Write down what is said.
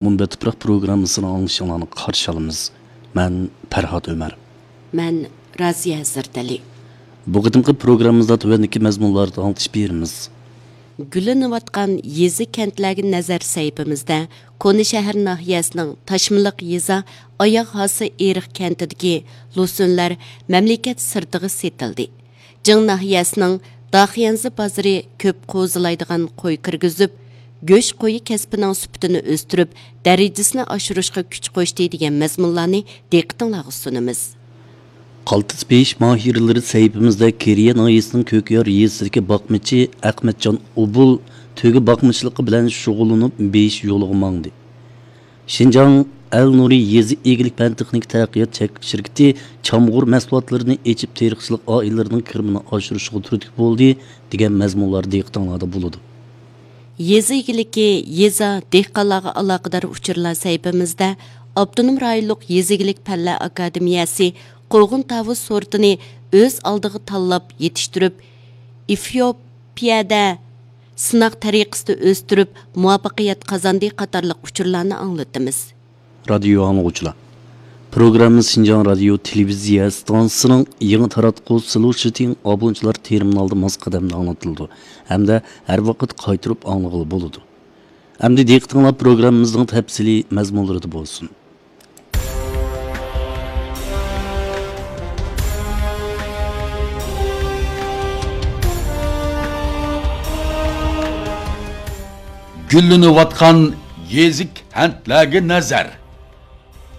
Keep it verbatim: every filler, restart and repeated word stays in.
مۇنبەت تۇپراق پروگراممىسىنى ئاڭلىشىڭلارنى قارشى ئالىمىز. مەن پەرھات ئۆمەر. مەن رازىيە ھەزرىتەلى. بۇ قېتىمقى پروگراممىمىزدا تۆۋەندىكى مەزمۇنلاردا ئاڭلىتىش بېرىمىز. گۈللىنىۋاتقان يېزا كەنتلەرگە نەزەر سەھىپىمىزدە كونا شەھەر ناھىيەسىنىڭ تاشمىلىق يېزا ئاياغ ھاسى ئېرىق كەنتىدىكى لوسۇنلار مەملىكەت سىرتىغا سېتىلدى. جىڭ ناھىيەسىنىڭ داخيەنزى بازىرى كۆپ قوزىلايدىغان قوي كىرگۈزۈپ، گۆش قويى كەسپىنىڭ سۈپىتىنى ئۆستۈرۈپ، دەرىجىسىنى ئاشۇرۇشقا كۈچ قوشتى دېگەن مەزمۇنلارنى دىققىتىڭلارغا سۇنىمىز. قالتىس بېيىش ماھىرلىرى سەھىپىمىزدە كېرىيە ناھىيەسىنىڭ كۆكيار يېزىسىدىكى باقمىچى ئەخمەتجان ئوبۇل تۆگە باقمىچىلىقى بىلەن شۇغۇللىنىپ، بېيىش يولىغا ماڭدى. شىنجاڭ ئەل نۇرى يېزا ئىگىلىك پەن تېخنىكا تەرەققىيات چەكلىك شىركىتى چامغۇر مەھسۇلاتلىرىنى ئېچىپ، تېرىقچىلىق ئائىلىلىرىنىڭ كىرىمىنى ئاشۇرۇشىغا تۈرتكە بولدى، دېگەن مەزمۇنلار دىققىتىڭلاردا بولىدۇ. يېزا ئىگىلىكى، يېزا، دېھقانلارغا ئالاقىدار ئۇچۇرلار سەھىپىمىزدە ئاپتونوم رايونلۇق يېزا ئىگىلىك پەنلەر ئاكادېمىيەسى قوغۇن تاۋۇز سورتىنى ئۆز ئالدىغا تاللاپ يېتىشتۈرۈپ، ئېفىيوپىيەدە سىناق تەرىقىسىدە ئۆستۈرۈپ، مۇۋەپپەقىيەت قازاندى قاتارلىق ئۇچۇرلارنى ئاڭلىتىمىز. رادىيو ئاڭلىغۇچىلار، پروگراممىمىز شىنجاڭ رادىيو تېلېۋىزىيە ئىستانسىسىنىڭ يېڭى تاراتقۇ سلۇشىتىڭ ئابۇنچىلار تېرمىنالىدا ماس قەدەمدە ئاڭلىتىلىدۇ ھەمدە ھەر ۋاقىت قايتۇرۇپ ئاڭلىغىلى بولىدۇ. ئەمدى دىققىتىڭلار پروگراممىمىزنىڭ تەپسىلىي مەزمۇنلىرىدا بولسۇن. گۈللىنىۋاتقان يېزا كەنتلەرگە نەزەر.